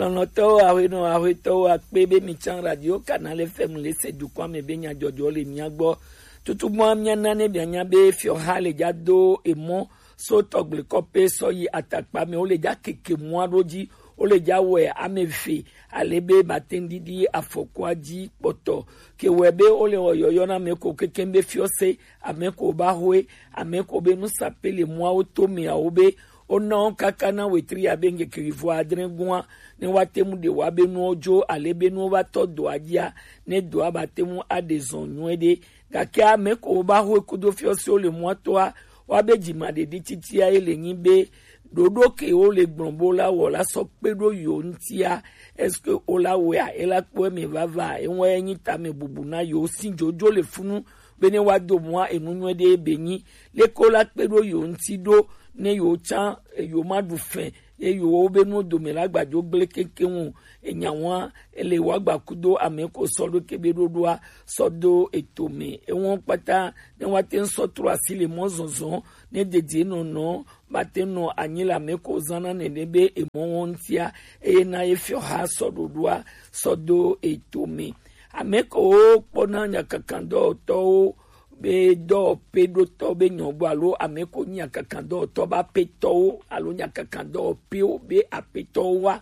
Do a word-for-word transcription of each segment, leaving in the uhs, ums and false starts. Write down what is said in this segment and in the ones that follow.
Lɔlɔ̃tɔwo, aƒenɔ, aƒetɔwo, akpe be mi tsã Radio Canal F M le se dukɔa me be nyadzɔdzɔ le mia gbɔ. Tutugbɔa mia na ne mianya be fiɔha le dza do emɔ so tɔgble kɔpe sɔ yi atakpa me. Wo le dza keke mɔa ɖo dzi. Wo le dza wɛ ame eve ale be mate ŋu ɖiɖi afɔkua dzi kpɔtɔ. Ke wɛ be wo le wɔ yɔyɔ na ame ko kekeŋ be fiɔse, ame ko ba hoe, ame ko be nusape le mɔawo to meawo be wona wo kaka na wetri abe ŋkeke wuivo adre gɔ̃a, ne woate ŋu ɖe woabe nuwo dzo, ale be nuwo va tɔ doa dzia, ne doa bate ŋu aɖe zɔ nyuie ɖe. Gake ame ko woba hoe kudo fiɔsewo le mɔa toa, woabe dzimaɖeɖi titia ye le nyi be ɖoɖo ke wo le gblɔ bo la wɔ la sɔ kpe ɖo yo ŋutia, est-ce que wo la wɔa, e la kpɔ eme vava? Ewa ye nyi tame bubu na yo si dzodzo le funu be ne woado mɔa enu nyuie ɖe be nyi. Leke wo la kpe ɖo yo ŋuti ɖo ne yo tsã yo ma ɖu fɛ ye yo wo be nuwo dome la gbadzo gble kekeŋ o. Enya wa ele wa gba kudo ame ko sɔ ɖo ke be ɖoɖoa sɔ do eto me. Ewo kpata ne woate ŋu sɔ trɔ asi le mɔ zɔzɔ ne dedie nɔnɔ mate nɔ anyi le ame ko zãna nene be emɔwo ŋutia, eye na ye fiɔha sɔ ɖoɖoa sɔ do eto me. Ame ko kpɔna nyakakandɔwɔtɔwo be dɔwɔƒeɖotɔ be nyɔgbo alo ame ko nyi nyakakandɔwɔtɔ be aƒetɔwo alo nyakakandɔwɔƒewo be aƒetɔwo wa,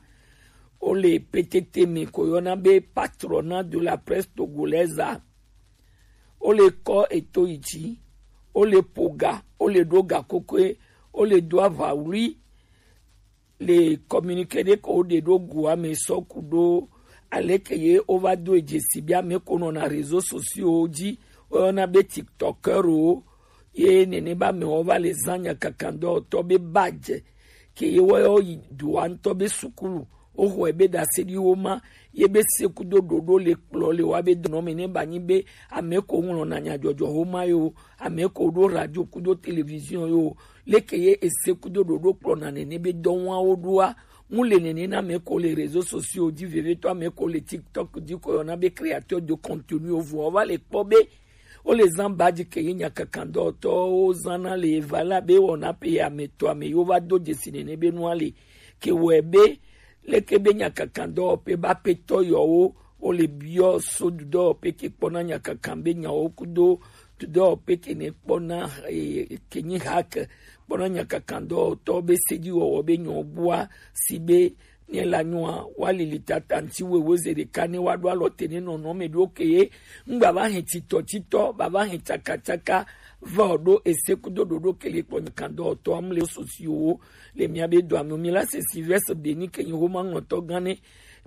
wo le petete me ko yɔna be patronat de la presse togolaise a. Wo le kɔ eto yi dzi, wo le ƒo ga, wo le ɖo ga kokoe, wo le do aʋawlui. Le communiqué ɖe ko wo ɖe ɖo gua me sɔ ku ɖo aleke ye wo va do dzesi be ame ko nɔna réseaux sociaux dzi, woyɔna be TikTokeur wo, ye nene be amewo va le zã nyakakandɔwɔtɔ be badge ke ye woyɔ yi dua ŋutɔ be sukulu. Woxɔe be ɖaseɖiwo ma ye be se kudo ɖoɖo le kplɔ le wa be dɔnɔ me ne ba nyi be ame ko ŋlɔna nyadzɔdzɔ wo ma yo, ame ko ɖo radio kudo télévision yo, leke ye ese kudo ɖoɖo kplɔna nene be dɔwawo ɖoa, ŋu le nene na ame ko le réseaux sociaux dzi, vevietɔ ame ko le TikTok dzi ko yɔna be créateur de contenu o, vɔ va le kpɔ be wo le zã badge ke ye nyakakandɔwɔtɔwo zãna le eva la be wɔna pe ame tɔ ame yo va do dzesi nene be nua le ke wɔe be leke be nyakakandɔwɔƒe be aƒetɔ yɔwo wo le biɔ so dudɔwɔƒe ke kpɔna nyakakan be nyawo kudo dudɔwɔƒe ke ne kpɔna, eh, ke nyi hake kpɔna nyakakandɔwɔtɔ be sedziwɔwɔ be nyawo bua si be ne la nyoa wa lili tata ŋti wewe ze ɖeka ne wa ɖo alɔ te ne nɔnɔ me ɖo ke ye ŋgba va hɛn titɔ titɔ ba va hɛn tsaka tsaka va o ɖo ese kudo ɖoɖo ke le kpɔ nyakandɔwɔtɔ am le sosiwo le mia be do ame mi la se Sylvestre Beni ke nyi homa ŋlɔtɔ gã ne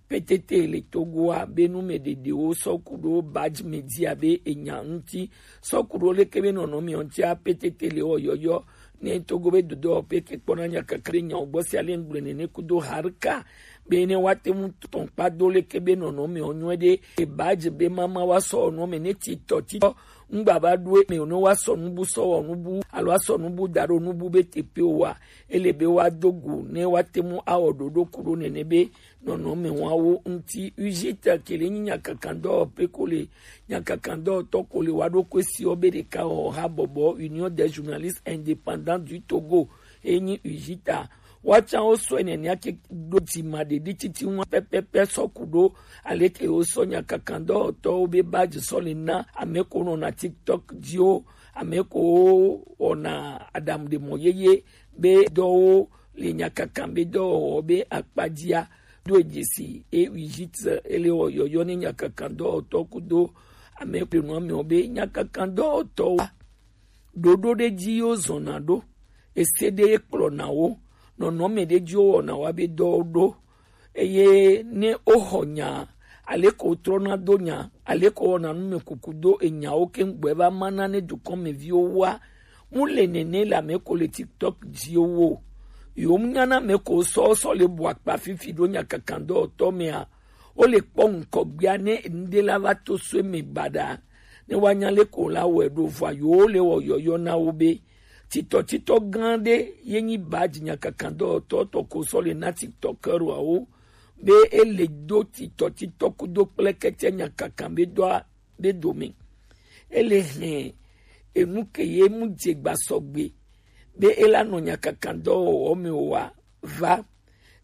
petete le Togoa be nu me ɖeɖewo sɔ ku ɖo badge me dzi abe enya ŋuti sɔ ku ɖo leke be nɔnɔ me ŋutia petete le wɔ yɔyɔ ne Togo be dodɔ pe ke kpɔna nyakaka be nyawo gbɔ sia le ŋgble nene kudo harika be ne wa te mu tɔn kpa do leke be nɔnɔ me ɔnyɔ ɖe e badge be mama wa sɔ ɔnɔ me ne titɔ titɔ ŋgba va ɖo eme o ne wa sɔ nubu sɔ wɔ nubu alo wa sɔ nubu da ɖo nubu be tepe o wa ele be wa do go ne wa te mu awɔ ɖoɖo ku ɖo nene be nɔnɔme wawo ŋuti. Ujita ke le nyi nyakakandɔwɔƒe ko le nyakakandɔwɔtɔ ko le wa ɖo koe si wo be ɖeka wɔ ha bɔbɔ Union des journalistes indépendants du Togo e nyi Ujita. Wa tsã wo sɔ nene ake ɖo dzima ɖeɖi titi ŋu pɛpɛpɛ sɔ ku ɖo aleke wo sɔ nyakakandɔwɔtɔwo be badge sɔ le na ame ko nɔna TikTok dzi wo, ame ko wɔna aɖaŋuɖemɔ yeye be dɔwo le nyakakan be dɔwɔwɔ be akpadzia ɖo dzesi e Ujita ele wɔ yɔyɔ ne nyakakan dɔwɔtɔ kudo ame kple nua mewo be nyakakan dɔwɔtɔwo ɖoɖo ɖe dzi yo zɔna ɖo ese ɖe ye kplɔna wo nɔnɔme ɖe dzi wo wɔna wa be dɔwo ɖo eye ne woxɔ nya aleke wotrɔna do nya aleke wɔna nu me kuku do enyawo ke ŋgbɔe va mana ne dukɔmeviwo wa mu le nene le ame ko le TikTok dzi wo. Yo mu nyana ame ko sɔ sɔ le bu akpa fifi ɖo nyakakandɔwɔtɔ mea wo le kpɔ ŋkɔgbea ne ŋɖe la va to so eme baɖa ne woanya le ko la wɔe ɖo vɔa yo le wɔ yɔyɔ na wo be titɔtitɔ gã ɖe ye nyi badge nyakakandɔwɔtɔ tɔ ko sɔ le na TikTokeuroawo be ele do titɔtitɔ kudo kple kete nyakakan be dɔa be dome. Ele hɛn enu ke ye mu dze gba sɔgbe be ela nɔ nyakakan dɔwɔwɔ me wa va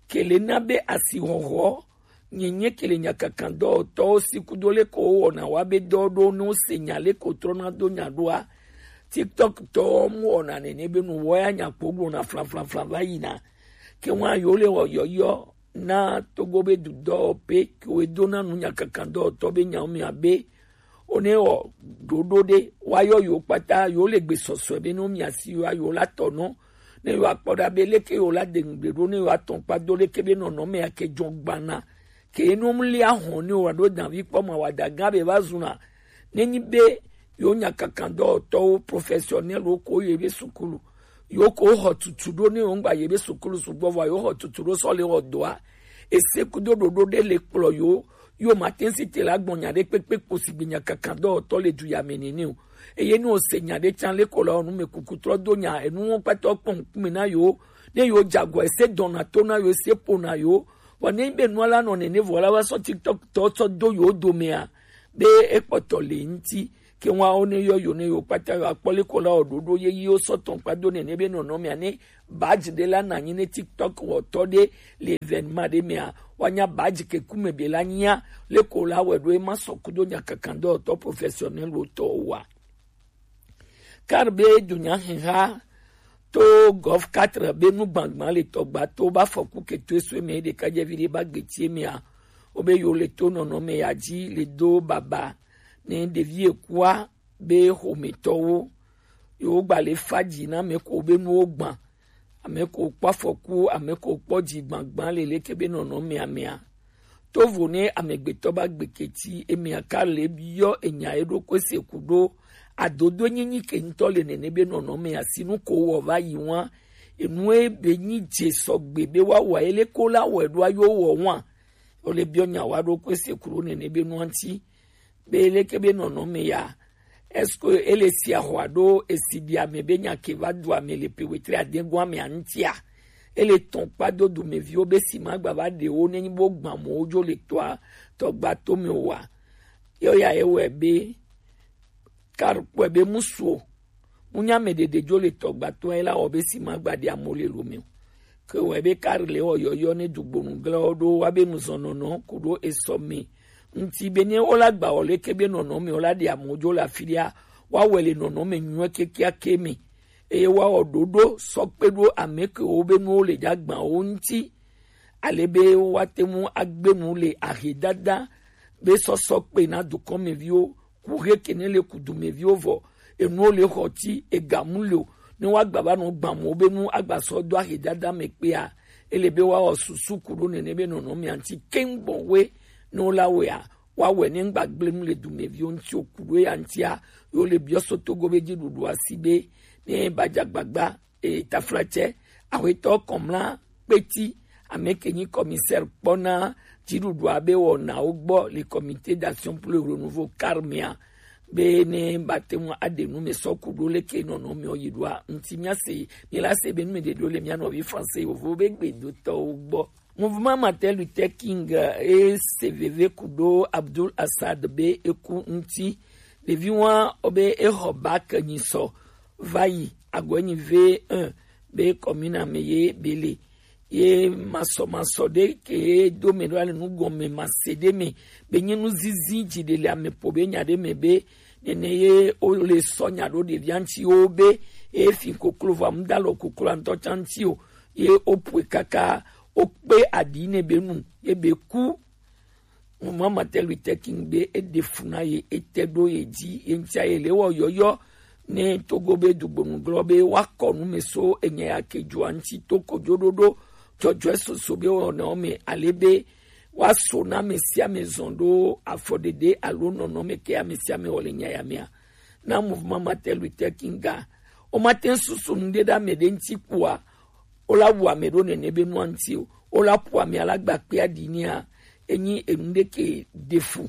Kele na be asihɔhɔ nyenye kele nyakakandɔtɔwo si kudo leko wowɔna wa be dɔ ɖo ne wose nya leko trɔna do nya ɖoa, TikTok tɔwo mu wɔna nene be nu wɔ ya nya kpo gblɔna flaflafla va yina. Ke ŋua yewo le wɔ yɔyɔ na Togo be dudɔ pe ke wo dona nu nyakakandɔtɔ be nyawo mia be One wɔ ɖoɖo ɖe woayɔ yewo kpata, yewo le gbe sɔsɔe be ne womiasi yewoa, yewo la tɔ nɔ, ne yewoa kpɔ ɖa be leke yewo la de ŋugble ɖo, ne yewoa tɔn kpa do leke be nɔnɔme ake jɔ gbana, ke ne womlia hɔn ne woa ɖo danvi kpɔ ma wa da gã be va zuna, ne nyi be yewo nyakakandɔtɔwo professionnel wo ko ye be sukulu, yewo ko xɔ tutu ɖo ne yewo ŋgba ye be sukulu sugbɔ vɔ yewo xɔ tutu ɖo sɔ le wɔ dɔa, ese kudo ɖoɖo ɖe le kplɔ yewo yo ma te si te la gbɔn nya ɖe kpekpe kpo si gbe nya kaka dɔwɔtɔ le du ya me nene o. Eye ne wose nya ɖe tsan le ko la, wɔ nu me kuku trɔ do nya enu wɔn kpata kpɔ ŋkume na yo, ne yo dze agɔ ese dɔna to na yo, ese ƒo na yo, vɔ ne be nua la nɔ nene vɔ la va sɔ TikTok tɔ tsɔ do yo domea, be ekpɔtɔ le ŋti, ke ŋua wo ne yɔ yo ne yo kpata yo akpɔ le ko la wɔ ɖoɖo ye yi wo sɔ tɔn kpa do nene be nɔnɔmea ne badge ɖe la na nyi ne TikTok wɔtɔ ɖe le événement ɖe mea, woanya badge ke kume be la nyia, leko la wɛ ɖo ema sɔ kudo nyakakandɔtɔ professionnel wo tɔ wa. Kar be dunya hiha to Golf quatre be nu gbangban le tɔgba to ba fɔku ke to esue me ɖeka dze vi ɖe ba gbetie mea, wo be yo le to nɔnɔme ya dzi le do baba ne ɖevi ekua be xometɔwo, yewo gba le fa dzi na ame ko be nuwo gbã, ame ko kpɔ afɔku, ame ko kpɔ dzi gbãgbã le leke be nɔnɔmea mea. Tovo ne amegbetɔ ba gbeketi emea ka le biɔ enya eɖokui se ku ɖo adodo nyinyi ke ŋutɔ le nene be nɔnɔmea si nu ko wɔ va yi wa, enu ebe nyi dze sɔgbe be wa wɔ ele ko la wɔ eɖo ayo wɔ wa. Wole biɔ nya wa ɖokui se ku ɖo nene be nua ŋti. Be leke be nɔnɔme ya? Est-ce que ele si axɔ alo esi ɖi ame be nya ke va du ame le pe wetri adegoa me aŋtia? Ele tɔn kpa do dumeviwo be si ma gba va ɖe wo ne nyi bo gbã mo wo dzo le toa tɔgba to me wa. Yɔ ya ye wɛ be kar kpɔe be musuo Ŋunya mɛ ɖeɖe dzo le tɔgbatɔa ye la wɔ be si ma gba ɖi amo le lo mɛ o. Ke wɔ be kar le wɔ yɔyɔ ne dugbonu glawo ɖo wa be nuzɔnɔnɔ ku ɖo esɔ mɛ. Ŋti be ne wo la gba wɔ le ke be nɔnɔ mɛ wo la ɖi amo dzo le afi ɖia, wa wɛ le nɔnɔ mɛ nyuɛ kekia ke mɛ. Eye wa wɔ ɖoɖo sɔ kpe ɖo ame ke wo be nuwo le dza gbã wo ŋti. Ale be wa te ŋu agbe nu le ahedada be sɔsɔ kpe na dukɔmeviwo ku he ke ne le kudumeviwo vɔ enuwo le xɔ ti ega mu le o ne wa gba va nɔ gbã mo be nu agba sɔ do ahe dada me kpea ele be wa wɔ susu ku ɖo nene be nɔnɔ mia ŋti keŋ gbɔn we ne wo la wea wa wɛ ne ŋgba gble nu le dumeviwo ŋti o ku ɖo ya ŋtia yo le biɔ so togo be dzi ɖuɖu asi be ne ba dza gbagba e, taflatsɛ, axwetɔ Kɔmla Kpeti, ame ke nyi commissaire kpɔna dziɖuɖua be wɔnawo gbɔ le Comité d'action pour le renouveau kar mea, be ne ba te ŋu aɖe nu me sɔ ku ɖo leke nɔnɔ me yi ɖoa ŋti mia se mi la se be nu me ɖe ɖo le mia nɔvi français yovo be gbedotɔwo gbɔ. Mouvement Martin Luther King e se veve ku ɖo Abdul Assad be eku ŋti. Ɖevi wa wo be exɔ bac nyi sɔ va yi agɔe nyi V un be commune me ye be le. Ye masɔmasɔ ɖe ke do me ɖo ale nu gɔme ma se ɖe me be nye nu zizi dzi ɖe le ame po be nya ɖe me be nene ye wo le sɔ nya ɖo ɖevia ŋti wo be e fi koklo va mu da lɔ koklo ŋtɔ tsa ŋti o ye wo pue kaka wo kpe aɖi ne be nu ye be ku. Mouvement Martin Luther King be eɖe fu na ye ete ɖo ye dzi ye ŋtia ye le wɔ yɔyɔ ne togo be dugbonu glɔ be wa kɔ nu me so enya ya ke dzoa ŋti to kojo ɖoɖo dzɔdzɔe soso be wɔnawo me ale be wa so na ame sia ame zɔn ɖo afɔɖeɖe alo nɔnɔ me ke ame sia ame wɔ le nya ya mea na Mouvement Martin Luther King ga wo ma te susu nu ɖe ɖe ame ɖe ŋti kpoa wo la wu ame ɖo nene be nua ŋti o wo la ƒo ame ala gba kpea ɖi nea enyi enu ɖe ke ɖe fu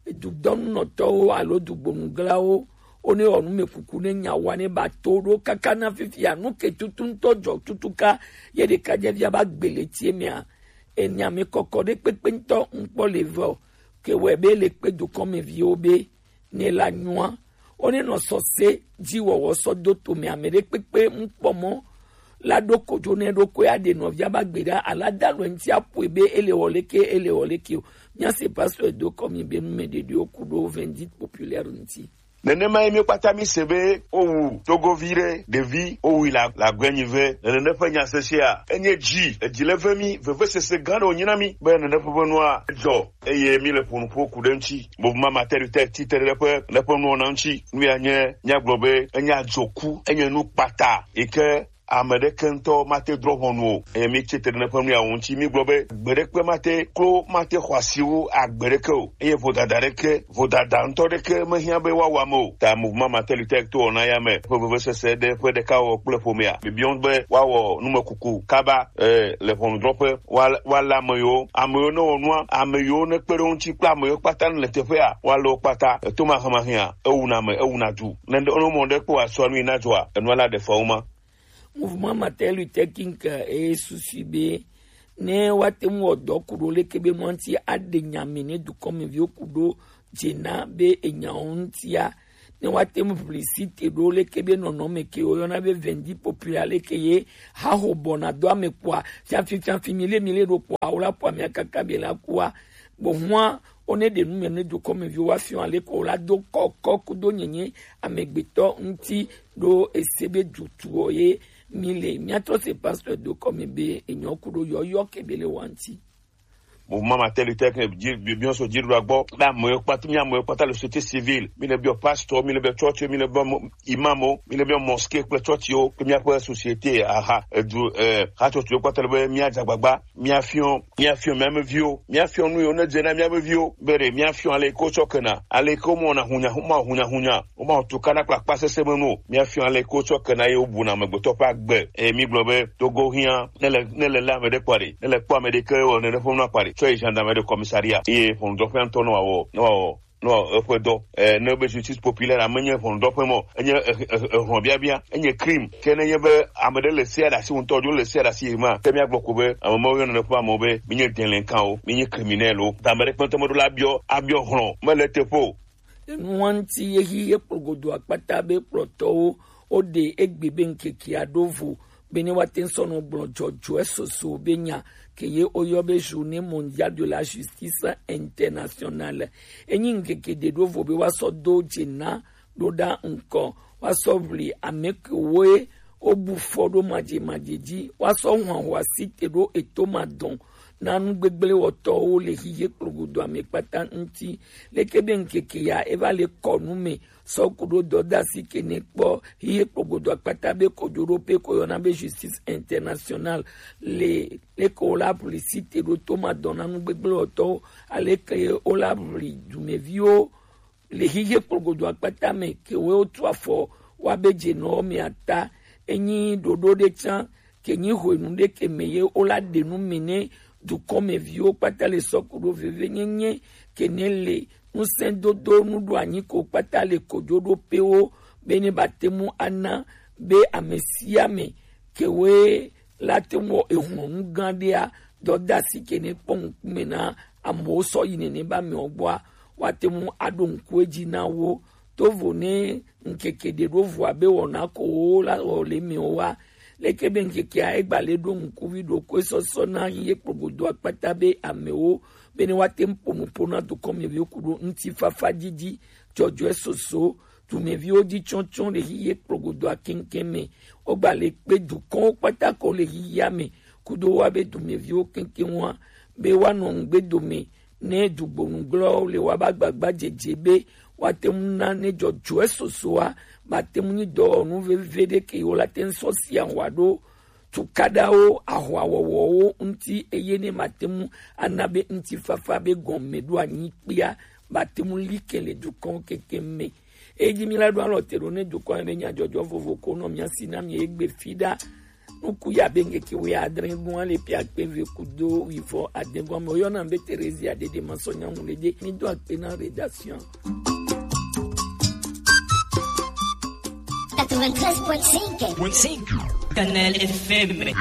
dudɔnunɔtɔwo alo dugbonuglawo wo ne wɔ nu me kuku ne nya wa ne ba to ɖo kaka na fifia nu ke tutu ŋtɔ dzɔ tutuka ye ɖeka dze via ba gbe le tie mea enya me kɔkɔ ɖe kpekpe ŋtɔ ŋkpɔ le vɔ ke wɛ be le kpe dukɔmeviwo be ne la nyua wo ne nɔ sɔse dzi wɔwɔ sɔ do tome ame ɖe kpekpe ŋkpɔ mɔ la ɖo kojo ne ɖo ko ya ɖe nɔvia ba gbe ɖa, ala da lɔ ŋuti aƒoe be ele wɔ leke, ele wɔ leke o. Mía se pasteur do kɔ mi be nu me ɖeɖewo ku ɖo vindicte populaire ŋuti. Nenema ye míwo kpata mí se be wowu Togovi ɖe, ɖevi, wowu la, la gbe nyi ve. Le nene ƒe nya sese a, enye dzi, edzi le ve mí, vevesese gã ɖe wònyi na mí be nene ƒe nua dzɔ, eye mí le ƒo nu ƒo ku ɖe ŋuti. Mouvement Martin Luther ti te ɖe eƒe, eƒe nuwɔna ŋuti. Nu ya nye, míagblɔ be enye adzɔku, enye nu kpata yi ke ame ɖeke ŋutɔ mate drɔ̃ ʋɔnu o. Eye mí tsi tre ɖe eƒe nu ya ŋuti, mí gblɔ be gbe ɖekpe mate klo, mate xɔ asi wu agbe ɖeke o. Eye vodada ɖeke, vodada ŋutɔ ɖeke mehiã be woawɔ ame o. Ta Mouvement Martin Luther to wɔna ya me ƒe vevesese ɖe ƒe ɖeka wɔ kple ƒomea. Bibiɔ be woawɔ numekuku kaba, eh, le ʋɔnudrɔ̃ƒe, woa-, woalé ame yiwo, ame yiwo ne wɔ nua, ame yiwo ne kpe ɖe wo ŋuti kple ame yiwo kpata ne le teƒea, woalé wo kpata. Eto mahemahea, ewuna ame, ewuna du. Ne, ne mɔ ɖe kpɔ asɔ nu yi na dzɔa, enua la ɖe fewu ma. Mouvement Martin Luther King, eh, e susu be ne woate ŋu wɔ dɔ ku ɖo leke be mɔ ŋuti aɖe nya me ne dukɔmeviwo ku ɖo dze na be enyawo ŋutia, ne woate ŋu publicité ɖo leke be nɔnɔme ke woyɔna be vendi populaire leke ye haho bɔna do ame kpɔa, fiafi, fiafi, mi le, mi le ɖo kpɔa, wo la kpɔa mia kaka be la kua. Gbɔhua, wo ne ɖe nu me ne dukɔmeviwo wa fiɔ ale ko la do kɔkɔ kudo nyenye amegbetɔ ŋuti ɖo ese be dutuɔ ye mi le. Mia tɔ se pasteur do kɔme be enyɔ kudo yɔyɔ ke be le wa ŋuti. Mouvement Martin Luther King dzi, bi-, biɔ so dziɖuɖua gbɔ. Be ame yiwo kpata, mía ame yiwo kpata le société civile. Mi le biɔ pasteur, mi le biɔ church, mi le biɔ mo-, imam, mi le biɔ mosquée kple church yiwo, kple míaƒe société, aha, edu, eh, hatsotso yiwo kpata le be míadze agbagba, míafiɔ, míafiɔ mía me viwo, míafiɔ nu yiwo ne dze na mía me viwo, be ɖe míafiɔ ale yi ke wotsɔ kena, ale yi ke womewɔna hunyahunya, womewɔ hunyahunya, womewɔ tukana kple akpa sesẽ me nu o. Míafiɔ ale yi ke wotsɔ kena ye wobuna amegbetɔ ƒe agbe. Eye mígblɔ be Togo hiã, ne le, ne le lé ame ɖe kpɔ ɖe, ne le kpɔ ame ɖe ke wɔ nene ƒe nua kpɔ ɖe, tsɔ yi gendarmerie de commissariat. Eye ʋɔnudrɔ̃ƒea ŋutɔ ne wòawɔ, ne wòawɔ, ne wòawɔ eƒe dɔ. Eh, ne be justice populaire menye ʋɔnudrɔ̃ƒe mɔ, enye, eh, eh, eh, hlɔ̃biabia, enye crime. Ke ne nye be ame ɖe le sea ɖe asi ŋutɔ dzo, le sea ɖe asi yi ma, ke míagblɔ ko be ame mawo yɔna ne ƒe amewo be, mi nye délinquant wo, mi nye criminel wo. Ta ame ɖe kpɛtɛ meɖo la abiɔ, abiɔ hlɔ̃, mele teƒe o. Enua ŋuti ye hi ye kplɔ godo akpata be kplɔtɔwo woɖe egbe be ŋkekea ɖo vo be ne woate ŋu sɔ nɔ gblɔ dzɔdzɔe soso be nya ke ye woyɔ be Journée Mondiale de la Justice Internationale. Enyi ŋkeke ɖe ɖo vo be woasɔ do dze na ɖo ɖa ŋkɔ, woasɔ ʋli ame kewoe wobu fɔ ɖo madzemadze dzi, woasɔ hɔn asi te ɖo eto madɔn na nu gbegblẽ wɔtɔwo le hihe kplogodo ame kpata ŋuti. Leke be ŋkeke ya eva le kɔ nu me sɔ ku ɖo dɔdasi ke ne kpɔ hihe kplogodo akpata be kojoɖoƒe ko yɔna be Justice Internationale le leke wo la ʋli si te ɖo to madɔn na nu gbegblẽ wɔtɔwo, aleke wo la ʋli dumeviwo le hihe kplogodo akpata me ke wo tu afɔ wa be dze nɔ me ata. Enyi ɖoɖo ɖe tsã ke nyi hwenu ɖe ke me ye wo la ɖe nu me ne dukɔmeviwo kpata le sɔ ku ɖo vevenyenye ke ne le ŋusẽdodo nuɖoanyi ko kpata le kojoɖoƒewo be ne ba te mu ana be ame sia ame ke woe la te ŋu wɔ ehlɔ̃nu gã ɖea, dɔdeasi ke ne kpɔ ŋkume na amewo sɔ yi nene be amewo gbɔa, woate ŋu aɖo ŋku edzi na wo. Tovo ne ŋkeke ɖe ɖo vɔa be wɔna ko wo la wɔ le mewo wa. Leke be ŋkekea egba le ɖo ŋkuvi ɖokoe sɔsɔ na ye kplogodo akpata be amewo be ne woate ŋu ƒo nu ƒo na dukɔmeviwo ku ɖo ŋutifafa didi, dzɔdzɔe soso, dumeviwo dzi tsɔtsɔ le hihe kplogodoa keŋkeŋ me. Wogba le kpe dukɔwo kpata ko le hihia me kudo wa be dumeviwo keŋkeŋ wa be woanɔ ŋugbe dome ne dugbonugblɔwo le wa ba gbagba dzedze be woate ŋu na ne dzɔdzɔe sosoa mate ŋu nyi dɔwɔnu veve ɖe ke wo la te ŋu sɔ sia hwa ɖo tukaɖawo, ahwawɔwɔwo ŋuti, eye ne mate ŋu ana be ŋutifafa be gɔmeɖoanyi kpea mate ŋu li ke le dukɔwo kekeŋ me. Eyi dzi mi la ɖo alɔ te ɖo ne dukɔ ɖe nyadzɔdzɔ vovo ko nɔ mia si na mi egbe fi ɖa. Nuku ya be ŋkeke wuiadre gɔ̃ ale pe akpe eve kudo wuivɔ ade gɔ̃ me woyɔna be Theresia Dede Masɔ Nyaŋu le de. Mi do akpe na rédaction. Quatre-vingt-treize point cinq. Point cinq. Kanal F M.